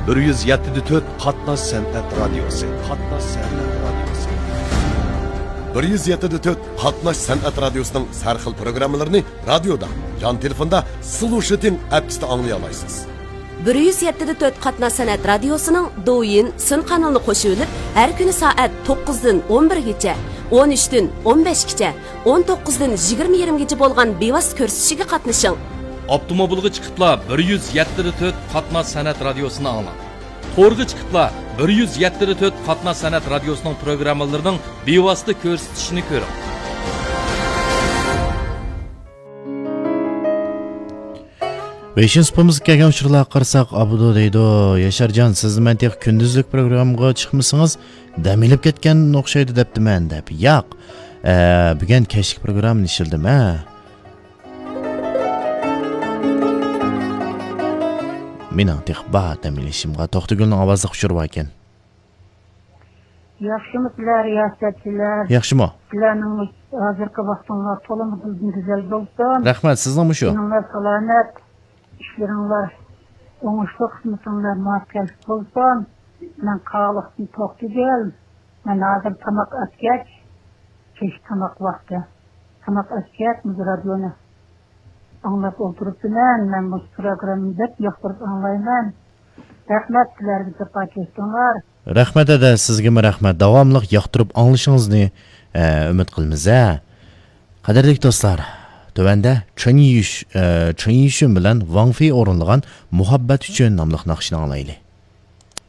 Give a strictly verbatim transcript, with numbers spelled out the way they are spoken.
بىر يۈز يەتتە دە تۆت قاتناش سەنئەت رادىيوسى. قاتناش سەنئەت رادىيوسى. بىر يۈز يەتتە دە تۆت قاتناش سەنئەت رادىيوسىنىڭ ھەر خىل پروگراممىلىرىنى رادىيودا، جان تېلېفوندا سلۇشىتىڭ ئەپكىسىدە ئاڭلىيالايسىز. بىر يۈز يەتتە دە تۆت قاتناش سەنئەت رادىيوسىنىڭ دويىن سىن قانىلىنى قوشۇۋېلىپ، ھەر كۈنى سائەت توققۇزدىن ئون بىرگىچە، ئون ئۈچتىن ئون بەشكىچە، ئون توققۇزدىن يىگىرمە يېرىمگىچە بولغان بىۋاسىتە كۆرسىتىشىگە قاتنىشىڭ. ئاپتوموبىلغا چىقىپلا بىر يۈز يەتتە دە تۆت قاتناش سەنئەت رادىيوسىنى ئاڭلاڭ. تورغا چىقىپلا بىر يۈز يەتتە دە تۆت قاتناش سەنئەت رادىيوسىنىڭ پروگراممىلىرىنىڭ بىۋاسىتە كۆرسىتىشىنى كۆرۈڭ. ۋېيشىن سۇپىمىزغا كەلگەن ئۇچۇرلارغا قارىساق، ئابدۇ دەيدۇ، ياشارجان، سىزنى مەن تېخى كۈندۈزلۈك پروگراممىغا چىقمىسىڭىز، دەم ئېلىپ كەتكەن ئوخشايدۇ دەپتىمەن دەپ. ياق، ئە، بۈگۈن كەچلىك پروگراممىنى ئىشلىدىم، ھە. مېنىڭ تېخى بار دەم ئېلىشىمغا. توختىگۈلنىڭ ئاۋازلىق ئۇچۇرى باركەن. ياخشىمۇسىلەر، رىياسەتچىلەر؟ ياخشىمۇ؟ سىلەرنىڭ ھازىرقى ۋاقتىڭلار تولىمۇ گۈزەل بولسۇن. رەھمەت، سىزنىڭمۇ شۇ. تېنىڭلار سالامەت، ئىشلىرىڭلار ئوڭۇشلۇق، خىزمىتىڭلار مۇۋەپپەقىيەتلىك بولسۇن. مەن قاغىلىقتىن توختىگۈل. مەن ھازىر تاماق ئەتكەچ، كەچلىك تاماق ۋاقتى. تاماق ئەتكەچ مۇشۇ رادىيونى ئاڭلاپ ئولتۇرۇپتىمەن. مەن مۇشۇ پروگراممىنى بەك ياقتۇرۇپ ئاڭلايمەن. رەھمەت سىلەرگە، جاپا چەكتىڭلار. رەھمەت، ھەدە، سىزگىمۇ رەھمەت. داۋاملىق ياقتۇرۇپ ئاڭلىشىڭىزنى، ئە، ئۈمىد قىلىمىز، ھە. قەدىرلىك دوستلار، تۆۋەندە چېن يۈش، ئە، چېن يۈشۈن بىلەن ۋاڭ فېي ئورۇنلىغان مۇھەببەت ئۈچۈن ناملىق ناخشىنى ئاڭلايلى.